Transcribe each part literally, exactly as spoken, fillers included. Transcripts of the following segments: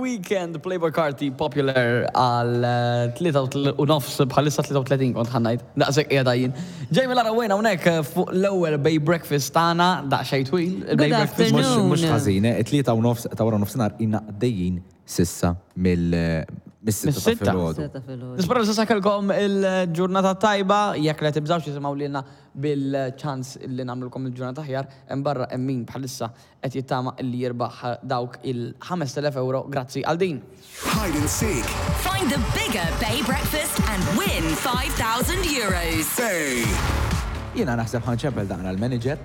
Weeknd, Playboi Carti, Popular għal eh, tlieta u nofs, bħalissa tlieta u tletin kont ħa ngħid. Daqshekk qiegħda jien. Jamie Lara Wayne hawnhekk eh, fuq l-ewwel Bay Breakfast tagħna, daqsxejn twil. Il-Bay Good Breakfast. afternoon. Mhux mhux ħażin, eh, it-tlieta u nofs ta' wara nofsinhar ilna għaddejjin s'issa mill mis-sitta ta' Mis-sitta. filgħodu. Sitta filgħodu. Nispera li s'issa kellkom il-ġurnata tajba, jekk le tibżgħux tisimgħu lilna bil-ċans li nagħmlulkom il-ġurnata aħjar, hemm barra hemm min bħalissa qed jittama li jirbaħ dawk il-ħamest elef euro grazzi għal din. Hide and seek. Find the bigger Bay Breakfast and win five thousand euros. Bay. Jiena naħseb ħa nċempel daqna l-manager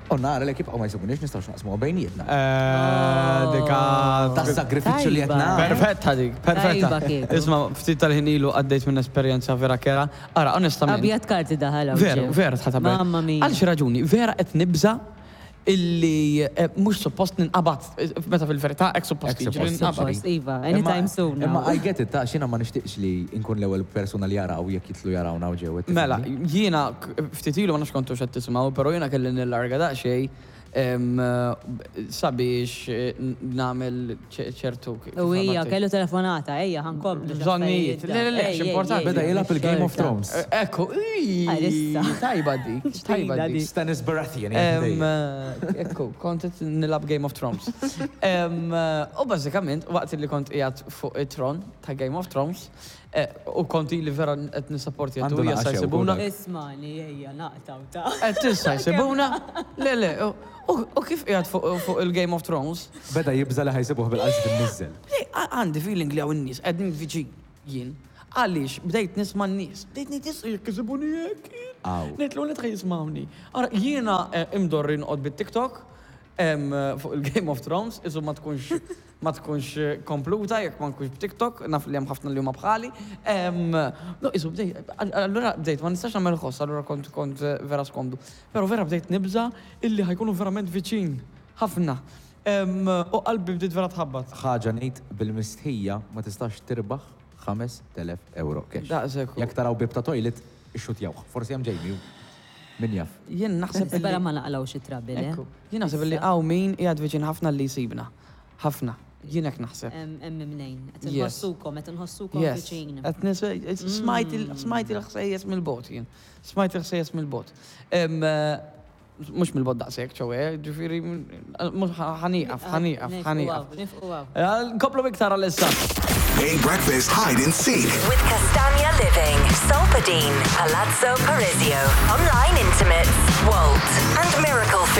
u nara li jibqgħu ma jsibunix, nistgħux naqsmu bejnietna. Eh, Dika. Tas-sagrifiċċju li qed Tajba. nagħmel. Perfetta dik, perfetta. Tajba kieku. Isma', ftit tal-ħin ilu għaddejt minn esperjenza vera kerha. Ara, onestament. Abjad karti daħal hawn Veru, ġew. vera tħatabel. Mamma mia. Għal xi raġuni, vera qed nibża illi eh, mhux suppost ninqabad, eh, meta fil-verità hekk suppost Hekk jiġri suppost ninqabad. Suppost, iva, anytime soon Imma now. I get it, ta' xina ma nixtieqx li nkun l-ewwel persuna li jaraw jekk jitlu jarawna u ġew. Mela, jiena k- ftit ilu ma nafx kontu x'qed tisimgħu, però jiena kelli nillarga daqsxejn em, sabiex eh, nagħmel ċe- ċertu kif U hija għabattik. kellu telefonata, ejja, ħa nkomplu. Bżonnijiet. Le, le, le, x'importanti. Beda jilgħab il-Game of Thrones. Eh, Ekku, ii, Għalissa. tajba dik, tajba Ġdida dik. dik. Stannis Baratheon. Em, eh, Ekku, kont qed nilgħab Game of Thrones. Em, eh, U bażikament, waqt li kont qiegħed fuq it-tron ta' Game of Thrones, eh, u kont li vera qed nisapporti Għandu għattu naqa jista' xew, jsibuna. dak. Ismani, ejja, naqtaw ta' Qed tista' jsibuna? Le, le, u- u u kif qiegħed fuq fuq il-Game of Thrones? Beda jibża li ħa jsibuh bil-qalb imniżżel. Le, għ- għandi feeling li hawn in-nies qegħdin viċin jien. Għaliex bdejt nisma' n-nies, bdejt ngħid issa jekk isibuni hekk. Aw. Ngħid l ħa jismawni. Ara, jiena eh, imdorri noqgħod bit-TikTok em, fuq il-Game of Thrones, isu ma tkunx ma tkunx eh, kompluta jekk ma nkunx b'TikTok, naf li hemm ħafna li huma bħali. Em, No, isu bdejt, allura bdejt ma nistax nagħmel ħoss, allura kont kont eh, vera skomdu. Però vera bdejt nibża illi ħa jkunu verament viċin, ħafna. Em, U qalbi bdiet vera tħabbat. Ħaġa ngħid bil-mistħija, ma tistax tirbaħ ħamest elef euro cash. Daqshekk. Jekk taraw bib ta' toilet, ixxutjawh. Forsi hemm Jamie. Min jaf. Jien naħseb Spera illi. ma naqlgħu xi trouble, eh? Ekku. Jien naħseb illi hawn min qiegħed viċin ħafna li jsibna. Ħafna. Jien hekk naħseb. Hemm mnejn. Qed Yes. inħossukom, qed inħossukom Yes. viċin. Qed nis- Smajt il- smajt il-ħsejjes mill-bogħod jien. Smajt il-ħsejjes mill-bogħod. Em, eh, Mhux mill-bogħod daqshekk, ċoè, ġifieri, mhux ħa nieqaf, ħa nieqaf, ħa nieqaf. Nifqu għaw. Eh, Nkomplu iktar għal-issa. Bay Breakfast Hide and Seek. With Castagna Living, Solpadeine, Palazzo Parisio, Online Intimates, Wolt, and Miracle